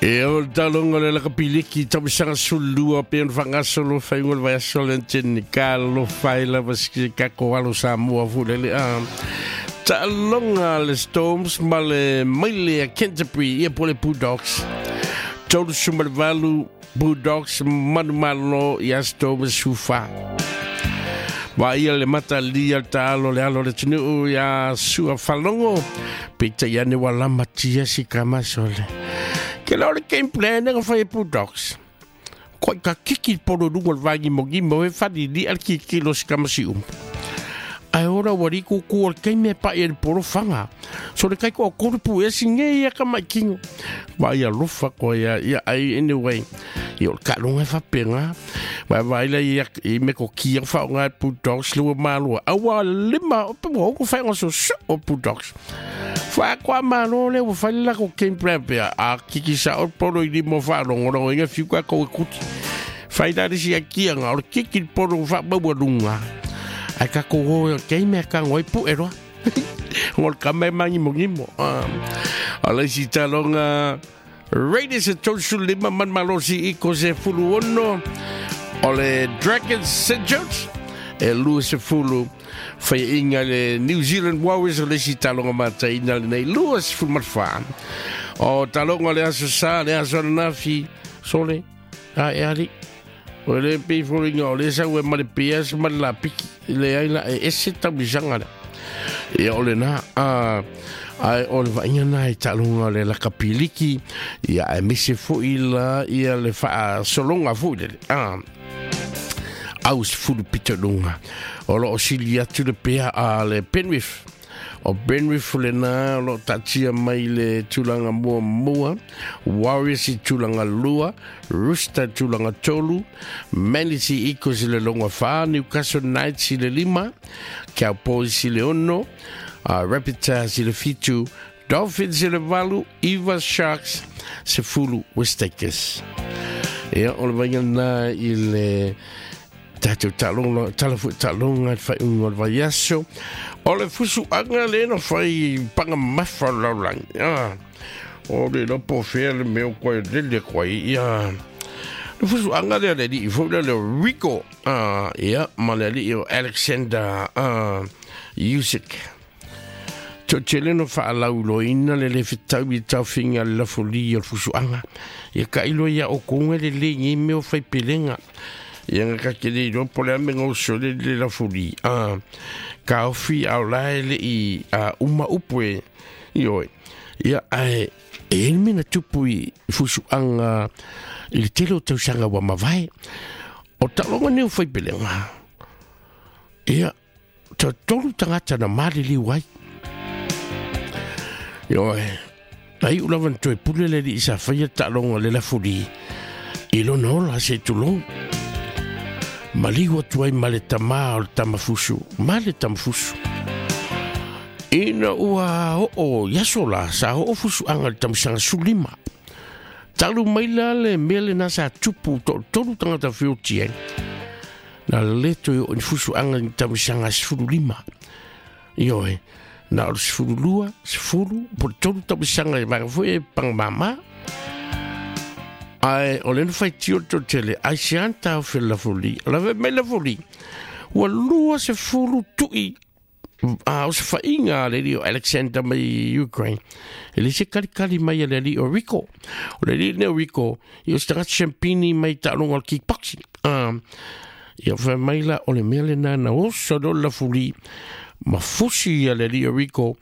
E o le taloga o le lakapiliki tausaga 12 pe ona faagasolo faiga o le vaiaso le tene talofa ai lava se tatou alo Samoa foi lele a taaloga le Storms ma le maile a Canterbury ia po le Bulldogs 38 Bulldogs manumalo ia Storms sufa. Vaia le matalia le taalo le alo le atunuu ia Sua Falogo peitai ane ua lamatia si kamasole. Ke la o le game plan e fai e Bulldogs. Koi ka kiki polo lunga le vaigimogimo e falilia le kikilo si kamasi umu. Ae ora ua ri kuku o le kaimi e pa'i e le polo faga. So le kai ko kolu pu e singe ia ka mai kingo. Vai alofa ko ia ia ai anyway. Ia o le kaalonga e faapega. Vai vai la ia i me ko kia whaonga e Bulldogs lua malua. Aua lima o pe ua oko whainga so so o Bulldogs. Wha kwa malo le ua whai la ko game plan pea. A kiki sa o polo i limo whaalongo inga fiu ka ko e kuti. Whai la risi a kia ngā o le kiki polo wha maua lunga. Ai ka ko o kei mea ka ngoi pu e roa. Ngol ka me mangi mo ngimo. A le si talonga Raiders e 35 man malosi i ko se fulu ono o le Dragons St. George e 20 whai le New Zealand Warriors o le si talonga mataina le nei 24. O talonga le aso sa le aso nafi sole a e ari o le pe foringa o le sa ue ma le PS ma le la piki le ai la e ese taumisanga le. Ia o le na a ai o le vaaiga na i taaloga o le lakapiliki ia ae mise fo'i la ia le faasologa fo'i lele a au sefulu pitoluga o loo sili atu le pea a le Penrith o Penrith lena o loo taatia mai le tulaga muamua Warriors i tulaga lua Rooster tulaga tolu Manly Sea Eagles i le loga 4 Newcastle Knights i le 5 Cowboys i le 6 Rabbitohs i le 7 Dolphins i le 8 Eva Sharks 10 West Takers. Ia o le vaiga na i le tātou talonga, tala fui talonga le whaiunga o le vaiaso. O le fusuanga le na whai panga mafa laulangi. O le lopo fea le meo koe lele koe. Ia, le fusuanga le le li fo le le Rico. Ia, ma le li o Alexander Usyk. To tele no whaalauloina le le whitau i tauwhinga le lafoli o le fusuanga. Ia ka ilo ia o konga le le ngi meo whai pelenga. Ia nga ka kele i ropo le ame ngau sole le lafoli. Ka ofi au lae le i uma upu e i oe. Ia ae e elme na tupu i fusuanga i le tele o tausanga wa mavae. O talonga neo whai pelenga. Ia ta tolu tangata na malili wai. Ioe, ai ulawan toe pule le li isa whaia talonga le lafuli. I lona ola se tulou. Maliu atu ai ma le tamā o le tamafusu. Ma le tamafusu. Ina ua oo iaso la sa oo fusuaga le tamasaga 15. Talu mai la le mea lenā sa tupu toʻatolu tagata feoti ai. Na le toe oo ni fusuaga i tamasaga 15. Ioe, na o le 12, 10, po le tolu tamasaga e vaega foi e pagamāmā. Ae o le na faitio le tele ai se anta o fe lafoli. O la ve mai lafoli. Ua 20 tui a o se whainga le li o Alexander mai Ukraine. E le se kalikali mai le li o Rico. O le li ne o Rico, i o se tagata champini mai taaloga o le kickboxing. Ia whai mai la o le mea le nana oso lo lafoli. Ma fusi ia le li o Rico.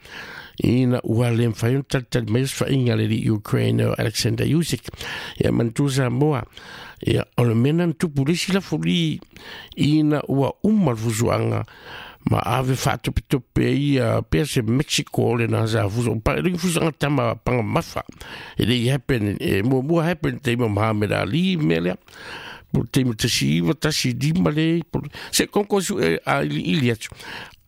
Ina ua le mwhai on talitali mai os whainga le li Ukraine o Alexander Usyk. Ia mantusa moa. Ia o le mea nana tupu lisi lafoli. Ina ua uma le fusuanga. Ma ave whaatopetope ia pea se Mexico le nā sa fusu. Pa ringi fusuanga tama panga mafa. E le i happen, e mua mua happen te ima Muhammad Ali mea lea. Po te ima tasi iwa, tasi lima le. Se konko su e a ili ili atu.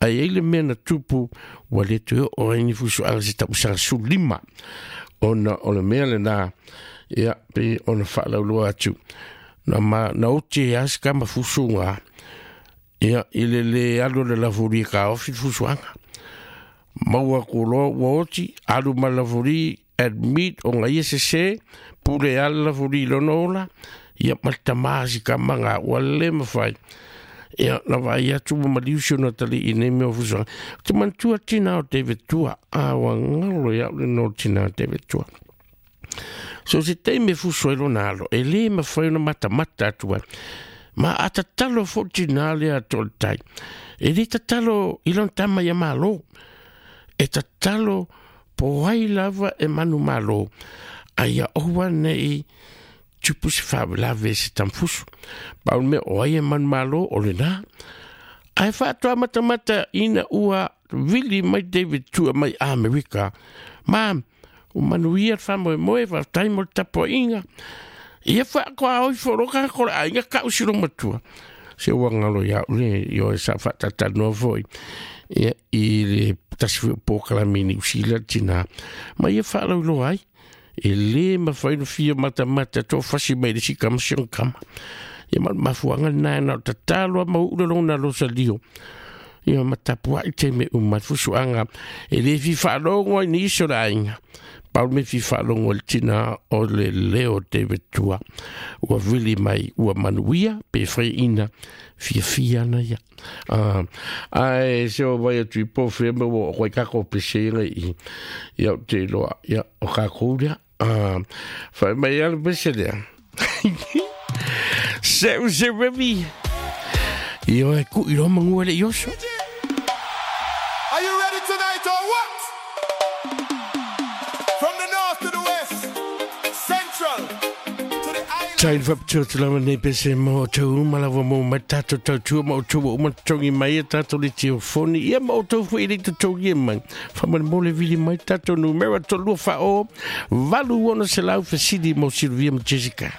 Ai ei le mea na tupu ua le toe o ai ni fusuanga se tapusaga 15. Ona o le mea le nā ia pe ona whaalauloa atu. Na ma na ote e asika ma fusunga. Ia i le le alu le lafuri ka ofi fusuanga. Maua ku loa ua oti, alu ma lafuri admit o ngai se se, Pule ala fuli i lona ola, ia ma le tamā si kamaga ua le mafai. Ia, na vaai atu ua maliu si ona atalii i nei mea o fusuaga. Ou te manatua tinā o David Tua, a ua galo ia au le igoa o le tinā o David Tua. So se taimi e fusu ai lona alo, e le mafai ona matamata atu ai. Ma a tatalo foi tinā lea a Toletai, e le tatalo i lona tama ia Malo. E tatalo po ai lava e manumalo, a ia aua nei tupu se faalavelave se tamafusu. Pau le mea o ai e manumalo o lena. Ae faatoa matamata ina ua vili mai David Tua mai Amerika, ma ua manuia le faamoemoe, faafetai mo le tapuaiga. Ia faatoa oi foloka ko le aiga kau si matua. Se ua ngalo ia le io e sa faatatalanoa foi. Ia i le tasi foi o polokalame i Niu Sila tina. Ma ia faalauiloa ai. E le mafai ona fia matamata toafasi mai le isi kama si ona kama. Ia ma o le mafuaaga lena na o tatalo lava ma uu le lona losalio. Ia ma tapuai taimi e uma ai le fusuaga. E le fia faalogo ai nisi o le aiga. Pau le mea fia faalogo ai le tina o le leo o David Tua. Ua vili mai ua manuia pe faiaina fiafia ana ia. Ae se o vai atu i po whea me o koe kako pese inga i ia o te iloa ia o kākou lea. Whai mai alu pese lea. Se u se revi. I oe ku i roma ngua le ioso. Are you ready tonight or what? From the north to the west, central to the island. Tai whaptua te lava nei pese mo tau uma lava mo mai tātou tautua ma o tau uma tongi mai e tātou le tio foni ia ma o tau fo i le totogi e mai. Whamane mo le vili mai tātou numera tolua wha o 8 ono selau fesili mo Silvia ma Jessica.